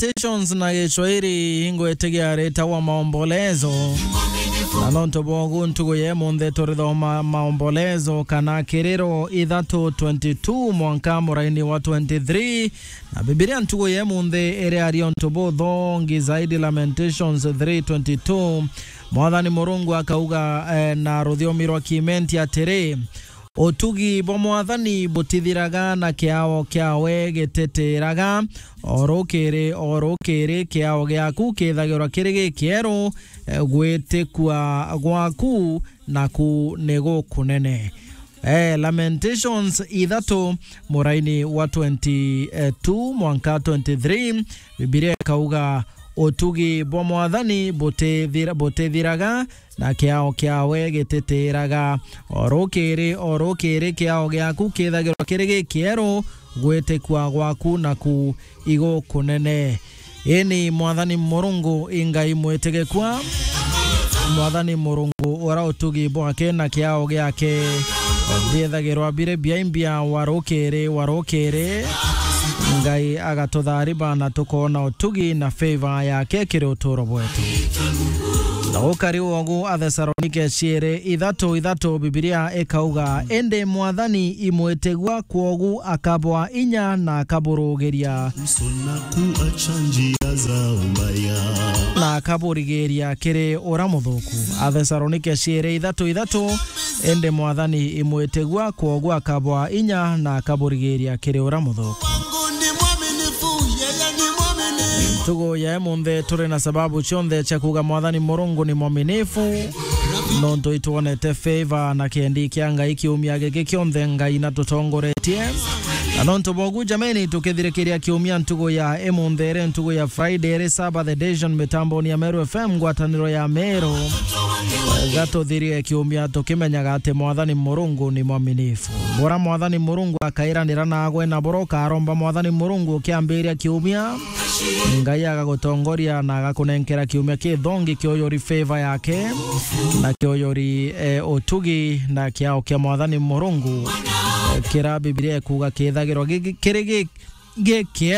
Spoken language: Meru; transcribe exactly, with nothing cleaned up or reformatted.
Lamentations na Gicwairi ingwitigia ritagwa maombolezo. Na nontu bwogu ntugu ya imunthi turithoma maombolezo kana kiriro ithatu twenty-two mwanka muraini wa twenty-three. Na Bibilia ntugu ya imunthi iriaria untu buthongi zaidi, Lamentations three twenty-two. Mwathani Murungu akauga, eh, na ruthiomi rwa Kimenti atiri, "Utugi bwa Mwathani butithiraga, na kiao kiawe gititiraga. O rukiri, o rukiri, kiao giaku kithagirwa kiri gikieru, eh, gwitikua gwaku naku ni gukunene." Eh, Lamentations ithatu, muraini wa twenty-two mwanka twenty-three, Bibilia ikauga, "Utugi bwa Mwathani butithira-, butithiraga, na kiao kiawe gititiraga. O rukiri, o rukiri, kiao giaku kithagirwa kiri gikieru, gwitikua gwaku naku igukunene." Ini Mwathani Murungu i Ngai mwitigikua. Mwathani Murungu uria utugi bwake na kiao giake biethagirwa biri biaimbia wa rukiri, wa rukiri. Ngai agatutharima na tukoona utugi na favor yake kiri uturo bwetu. Na ukari ugu Athesalonike ciiri ithatu ithatu, Bibilia ikauga, "Indi Mwathani i mwitigua, kwogu akabwa inya na akaburugiria." Msona kuacha njia za ubaya. Na akaburigiria kiri uria muthuku. Athesalonike ciiri ithatu ithatu, "Indi Mwathani i mwitigua, kwogu akabwa inya na akaburigiria kiri uria muthuku." Ntugu ya imunthi turi na sababu cionthe cia kuuga Mwathani Murungu ni mwaminifu, nontu itwonete favor na kiendi kia Ngai kiumia giki kionthe Ngai natutongoretie. Na nontu bwogu, jameni, tukithirikiria kiumia ntugu ya imunthi iri ntugu ya Friday, iri Sabbath edition mitamboni ya Meru F M, ngwataniro ya Meru. Gatuthirie kiumia tukimenyaga ati Mwathani Murungu ni mwaminifu. Bora Mwathani Murungu akairanira naagwe, na bora ukaromba Mwathani Murungu ukiambiria kiumia, Ngai agagutongoria na agakunenkera kiumia kithongi kioyori favor yake, na kioyori, eh, utugi na kiao kia Mwathani Murungu, eh, kira Bibilia ikuuga kithagirwa gi-, gi-, kiri gi-, giki